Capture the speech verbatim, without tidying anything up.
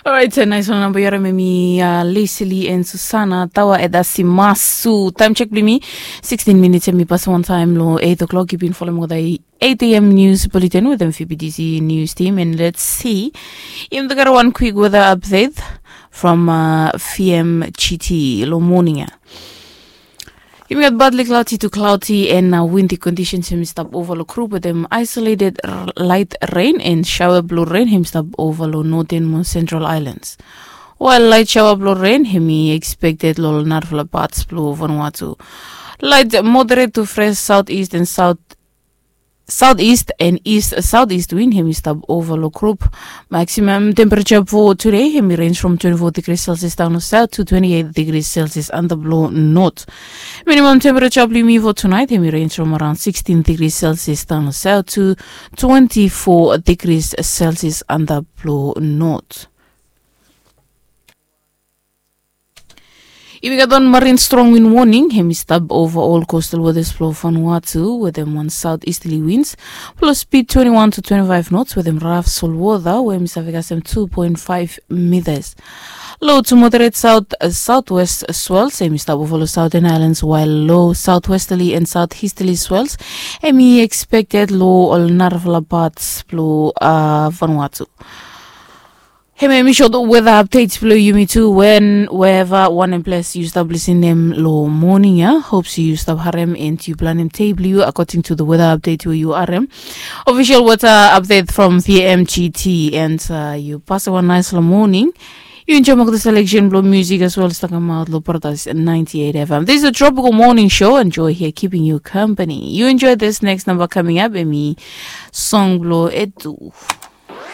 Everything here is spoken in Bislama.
Orait, nais wan namba yu harim em i Lesili and Susana Tawa Edasi Masu. Taim chek blong yumi, sixteen minits em i pas wantaim long eight o'clock. Yu bin folem olgeta eight a.m. news bulletin wetem Phoebe D C news team, and let's see. Yumi gat wan quick weather update from uh, P M G T long morning ya. Yumi gat badli cloudy to cloudy and uh, windy conditions hem i stap ova long group wetem isolated light rain and shower blue rain hem i stap ova long northern mo central islands. While light shower blue rain hem i expected long narafala parts blue Vanuatu. Light moderate to fresh southeast and south southeast and east southeast wind hem i stap ova long group. Maximum temperature for today hem i range from twenty-four degrees Celsius down south to twenty-eight degrees Celsius under blue north. Minimum temperature blong yumi for tonight hem i range from around sixteen degrees Celsius down south to twenty-four degrees Celsius under blue north. Yumi gat wan marine strong wind warning hem i stap ova ol coastal waters blong Vanuatu wetem wan south easterly winds blong speed twenty-one to twenty-five knots wetem raf solwota we hem i save kasem two point five meters. Low to moderate south southwest swells hem i stap ova long southern islands while low southwesterly and southeasterly swells hem i expected long ol narafala parts blong Vanuatu. Hem ya mi short weather update blong yumi tu wen wherever wanem ples yu stap lisenem long morning ya. Hope se yu stap harem and yu planem day blong yu according to the weather update we yu harem. Official weather update from P M G T and uh, yu pasem wan nice long morning. Yu enjoy olgeta selection blong music as well as talking about long Brothers ninety-eight F M. This is a tropical morning show. Enjoy here keeping you company. You enjoy this next number coming up. Emi song blong Edu.